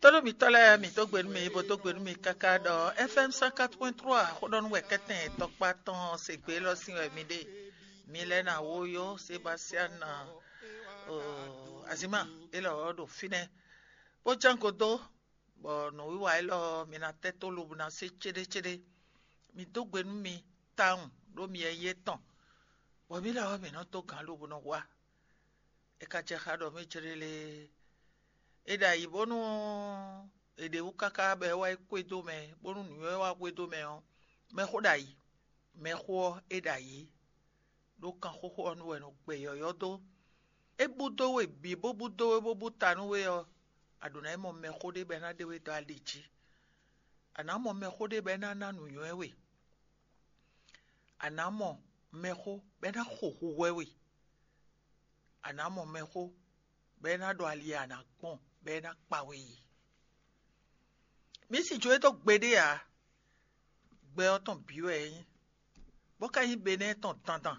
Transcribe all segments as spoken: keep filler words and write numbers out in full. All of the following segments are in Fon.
Tónú mǐtɔn lɛ́ɛ, mǐ dó gbe nú mi, bó dó gbe nú mi káká ɖɔ F M cent quatre point trois xó ɖɔ nú wɛ kɛ́tɛn tɔkpá tɔn se gbé élɔ́ sín wɛ mi ɖe. Mi lɛ́ ná wó yó Sebastian ná Azima élɔ́ ɖo fínɛ́, bó ján go dó, bɔ nǔwiwa élɔ́ mi ná tɛ́ tó lobo ná se céɖécéɖé. Mi dó gbe nú mi tawun ɖó mi yɛ yé tɔn, bɔ mǐ lɛ́ ɔ́ mǐ nɔ dó gǎn lobo nɔ wá. É ka jɛ xá ɖɔ mì jlélé. É ɖo ayǐ bónú è ɖe wú káká bɔ é wá yi xwedó mɛ, bónú nǔnywɛ́ wá xwedó mɛ ɔ́, mɛxó ɖo ayǐ. Mɛxó ɔ́, é ɖo ayǐ, ɖó kanxóxó ɔ́ nu wɛ è nɔ gbɛ yɔ̌yɔ́ dó. É bú dó we bǐ bó bú dó we bó bú ta nú we ɔ́, a ɖǒ ná yi mɔ mɛxó ɖé bɔ é ná ɖe we dó ali jí. A nǎ mɔ mɛxó ɖé bɔ é ná ná nǔnywɛ́ we. A nǎ mɔ mɛxó bɔ é ná xo hwihwɛ́ we. A nǎ mɔ mɛxó bɔ é ná ɖo ali e a nǎ gbɔn bɔ é ná kpa we yi. Mǐ si jó e dó gbeɖé ǎ. Gbɛ ɔ́ tɔn bǐ wɛ é nyí, bó ka nyí Benɛ́ɛ tɔn dandan.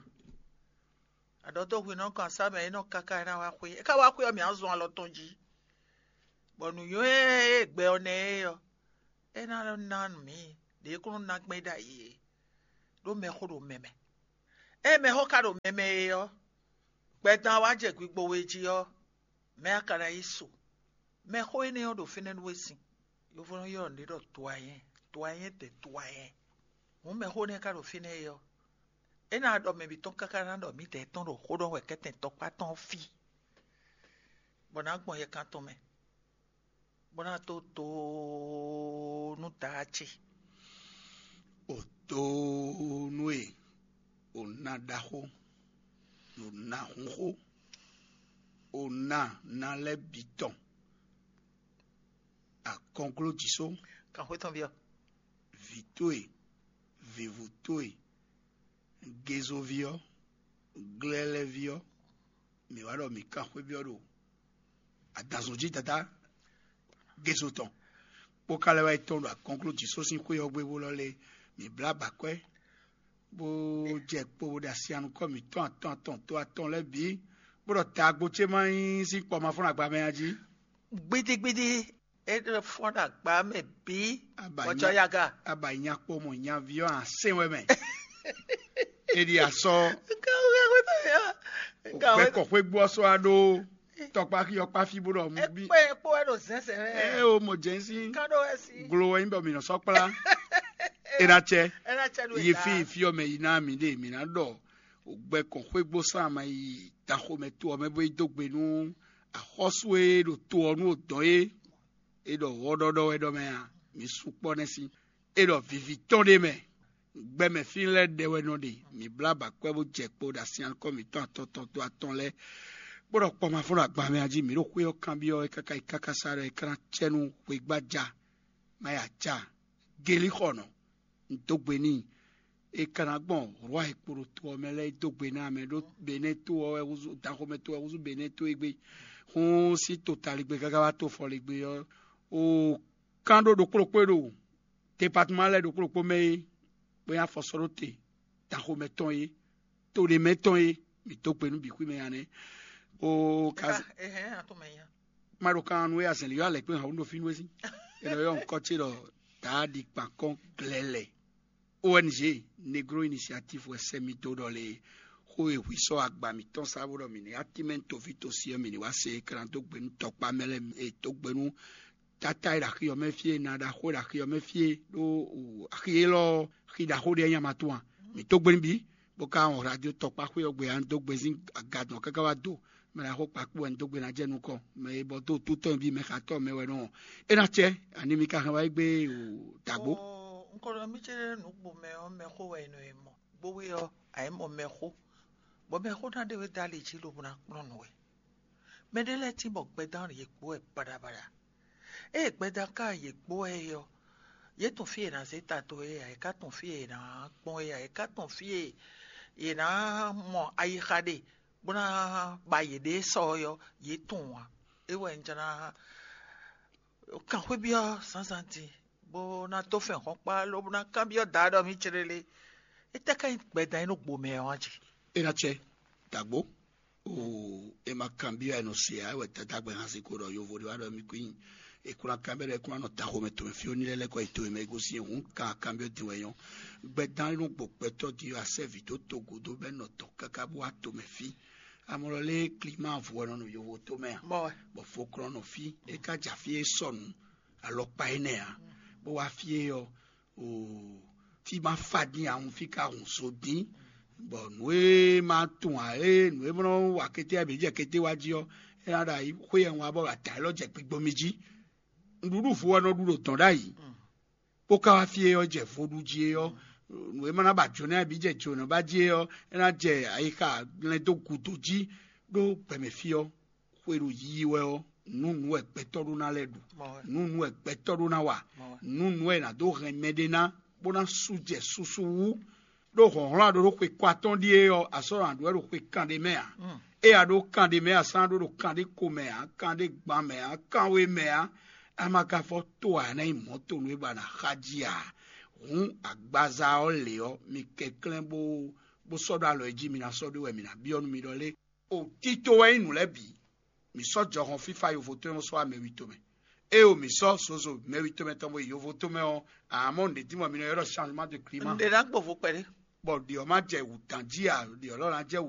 Aɖɔ̌dɔ́hwinɔ kan sá mɛ é nɔ káká é ná wá xwé. É ka wá xwé ɔ́, mǐ á zɔn alɔ tɔn jí, bɔ nǔnywɛ́ e gbɛ ɔ́ ná ɛ é ɔ́, é ná ná nǔ mǐ ɖě kúnnu ná gbɛn ɖ'ayǐ é, ɖó mɛxó ɖo mɛ mɛ. Ée mɛxó ka ɖo mɛ mɛ é ɔ́, gbɛdan wá jɛ gbigbo we jí ɔ́, mɛ̌ a ka ná yi su? Mɛxó énɛ́ ɔ́ ɖo fínɛ́ nú we sin. Yovo nɔ ylɔ́ nǔɖé ɖɔ doayɛn, doayɛn de doayɛn. Hǔn mɛxó énɛ́ ka ɖo fínɛ́ é ɔ́, é ná ɖɔ mɛ bǐ tɔn káká ná ɖɔ mǐdɛɛ tɔn ɖo xó ɖɔ wɛ kɛ́tɛn tɔkpá tɔn ɔ́ fí, bɔ nǎ gbɔn yɛkan tɔn mɛ, bó ná tó tóó nú Daá ce. O tóó nú e, o ná ɖaxó, o ná hunxó, o ná ná lɛ́ɛ bǐ tɔn. Akɔnglójǐ só, Kanxwé tɔn byɔ́. Vǐ towe, vǐvú towe, gezoví ɔ́, glɛ́lɛ́ví ɔ́, mǐ wá ɖɔ mǐ kan xwé byɔ́ ɖo adǎnzɔn jí Dadá gezo tɔn, kpó ka lɛ́ wá yi tɔ́n ɖo akɔnglójǐ só sín xwé ɔ́ gbe bó lɔ lé, mǐ blá abǎkwɛ́, bó jɛ kpo bó ɖe asi anukɔ mǐtɔn atɔn atɔn to atɔn lɛ́ɛ bǐ, bó ɖɔ taagbo ce ma nyí sín kpɔ ma fɔ́n agba mɛ a jí. Gbédégbédé, é ɖo fɔ́n ɖo agba mɛ bǐ. Aba bɔjɔ nya- yaga. Aba nya kpó mɔ nyaví ɔ́ asɛn wɛ mɛ. Eɖi asɔ. Nka wɛ wɛ tɔ ya. Nka wɛ. Ògbẹ́kọ̀ xwé gbó ɔ́ sɔ́ wá ɖó tɔkpá xí ɔkpá fí bó ɖɔ mú bí. Ekpé ekpó wɛ ɖo zɛnsɛn wɛ. Ɛ o mɔ jɛnsín. Ká ɖó wɛ sí. Glo wɛ nyí bɔ mì nɔ sɔ́ kplá. Ena cɛ. Ena cɛ ɖo yi fi yi fi ɔ́ mɛ yi ná mǐ ɖe mǐ ná ɖɔ ògbɛ kɔn xwégbó sán ama yi taxomɛ to ɔ́ mɛ bó yi dó gbe nú axɔ́sú e ɖo to ɔ́ nú odɔn é é ɖɔ wɔ́ɖɔ́ɖɔ́ wɛ ɖɔ mɛ a? Mǐ sukpɔ́ nɛ́ sín. É ɖɔ vivi tɔn ɖé mɛ. Gbɛmɛ fí lɛ́ɛ ɖɛ wɛ nɔ ɖe. Mǐ blá abǎkwɛ́ bó jɛ kpo ɖo asin akɔ́ mǐtɔn atɔn tɔn dó atɔn lɛ́ɛ, bó ɖɔ kpɔ́ ma fɔ́n ɖo agban mɛ a jí mǐ ɖo xwé ɔ́ kanbyɔ́ é káká yi káká sá ɖɔ é ká ná cɛ nú xweyígbájá má ya ja. Gelíxɔnɔ, un dó gbe n'i. É ka ná gbɔn rwa e kpo ɖo to ɔ́ mɛ lɛ́ɛ dó gbe ná mɛ ɖó Benɛ́ to ɔ́ wɛ húzú, danxomɛ to wɛ húzú Benɛ́ to é gbé. Hún sín totaligbé káká wá to fɔligbe ɔ́, o kán ɖó ɖokpó ɖokpó e ɖo departement lɛ́ɛ ɖokpó ɖokpó mɛ é, bó nyí afɔsɔ́ɖóte danxomɛ tɔn é, to ɖé mɛ tɔn é, mǐ dó gbe nú bǐ xwí mɛ nya nɛ́. O ka Ka- ɛhɛn, atɔmɛ nya. Ma ɖo kan nú é azɛ̌n lǐ ɔ́ alɛ̌kpé hǎn ɖo fínú é sí. È nɔ ylɔ́ nǔkɔ ce ɖɔ Daáɖi Kpankɔ́n Glɛlɛ. O N G Negro Initiative wɛ sɛ́ mì dó ɖɔ lě xó e hwi sɔ́ agba mǐtɔn sá bó ɖɔ mǐ ní atímɛ́ toví tosi ɔ́ mǐ ní wá se é ká ná dó gbe nú tɔkpá mɛ lɛ́ɛ e dó gbe nú tata e ɖo axi ɔ́ mɛ fí e, na ɖaxó e ɖo axi ɔ́ mɛ fí e, ɖó axi élɔ́ ɔ́, xi ɖaxó ɖé nya ma tɔn a? Mǐ dó gbe nú bǐ, bó ka wɔn radio tɔkpá xwé ɔ́ gbe a dó gbe sín agadɔn káká wá do. Mɛ ɖaxó kpakpó wɛ un dó gbe ná jɛ nukɔn, mɛ e bɔ dó tútɔn bí mɛ xatɔ́ mɛ wɛ nɔ. É ná cɛ, ani mi ka hɛn wá yi gbé o dǎgbó? Un ko ɖɔ mì ce ɖe nǔgbó mɛ ɔ́, mɛxó wɛ è nɔ e mɔ. Gbówé ɔ́, a yě mɔ mɛxó, bɔ mɛxó ná ɖe wé dó ali jí lobo ná kplɔ́n nǔ wɛ. Mɛ ɖé lɛ́ɛ tín bɔ gbɛdán yě kpó wɛ baɖabaɖa. Ée gbɛdán ka yě kpó wɛ é ɔ́, yě tunwun fí e è nǎ zé ta dó é ǎ, yě ká tunwun fí e è nǎ gbɔn é ǎ, yě ká tunwun fí e è nǎ mɔ ayixa ɖe bó ná ba yěɖée sɔ ɔ́, yě tunwun ǎ. É wɛ un jlá kan xwé byɔ́ zǎnzǎn din, bó ná dó fɛn hɔn kpá, lobo ná kanbyɔ́ Daá ɖɔ mì céɖélé. Étɛ́ ká nyí gbɛdán e nɔ gbo mɛ ɔ́ a jí? É ná cɛ, dǎgbó. Oo, e ma kanbyɔ́ ɛ nɔ se ǎ wɛ tata gbɛ hán se ko ɖɔ yovo ɖé wá ɖɔ mi kú nyi. E kún ná kanbyɔ́ ɖɔ e kún ná nɔ taxo mɛ tomɛ fí ó ní lɛ́ lɛ́ kɔ yi tomɛ mɛ e gosín hǔn kan kanbyɔ́ din wɛ nyɔ́. Gbɛdán e nɔ gbo gbɛtɔ́ din ɔ́ asɛ́ vǐ dó togo dó bɛ́ nɔ tɔn káká bó wá tomɛ fí. Amɔlɔ lé klima vo wɛ nɔ nɔ yovo tomɛ a? Bɔ fokplɔ́nɔ fí e ka ja fí e sɔnu alɔkpa énɛ́ ǎ, bó wá fí é ɔ́, oo, fí ma fa dín ahun fí ka hun so dín, bɔ nǔ e ma tunwun ǎ é nǔ e nɔ wa kété abǐ jɛ kété wá jí ɔ́, é ná ɖo ayi xwé ɛhun wá bɔ ata élɔ́ jɛ gbigbo mi jí. Nǔɖuɖu vo wɛ nɔ ɖu ɖo dɔ̌n ɖ'ayǐ, bó ka wá fí é ɔ́ jɛ vodú jí é ɔ́, nǔ e ma ná ba jǒnɔ abǐ jɛ jǒnɔ ba jí é ɔ́, é ná jɛ ayixa lɛn dó gǔdo jí ɖó gbɛmɛ fí ɔ́. Xwe ɖo yiyi wɛ ɔ́, nǔ nǔ wɛ gbɛtɔ́ ɖó ná lɛ́ ɖu, nǔ nǔ wɛ gbɛtɔ́ ɖó ná wa, nǔ nǔ wɛ è nǎ dó hɛn mɛɖé ná bó ná sú jɛ susu wú. Ɖó hlɔ̌nhlɔ́n a ɖó ɖó xwe kɔ atɔ́ɔ́n ɖíe ɔ́, a sɔ́ nɔ ɖu wɛ ɖo xwe kanɖé mɛ ǎ. É a ɖó kanɖé mɛ a sɔ́ ná ɖó ɖo kanɖé ko mɛ ǎ, kanɖé gban mɛ ǎ, kanwe mɛ ǎ. A ma ka fɔ to ǎ ná nyí mɔ̌ tonu e ba ná xa jí ǎ. Hǔn agbaza ɔ́ lě ɔ́, mi kɛnklɛ́n bó bó sɔ́ ɖó alɔ e jí mi ná sɔ́ ɖó wɛ mi ná byɔ́ nú mi ɖɔ lé. O tito wɛ nyí nǔ lɛ́ɛ bǐ. Mǐ sɔ́ jɔhɔn fífá yovo tɔn e nɔ sɔ́ wá mɛ wi tomɛ. Ée o mǐ sɔ́ zozo mɛ wi tomɛ tɔn bo yi yovo tomɛ ɔ́, amɔ̌ nǔɖé dín bɔ mi nɔ ylɔ́ ɖɔ changement de climat. Nǔɖé ná gbɔvo kpɛɖé. Bɔ ɖě ɔ́ má jɛ wǔ tán jí a, ɖě ɔ́ lɔ ná jɛ wǔ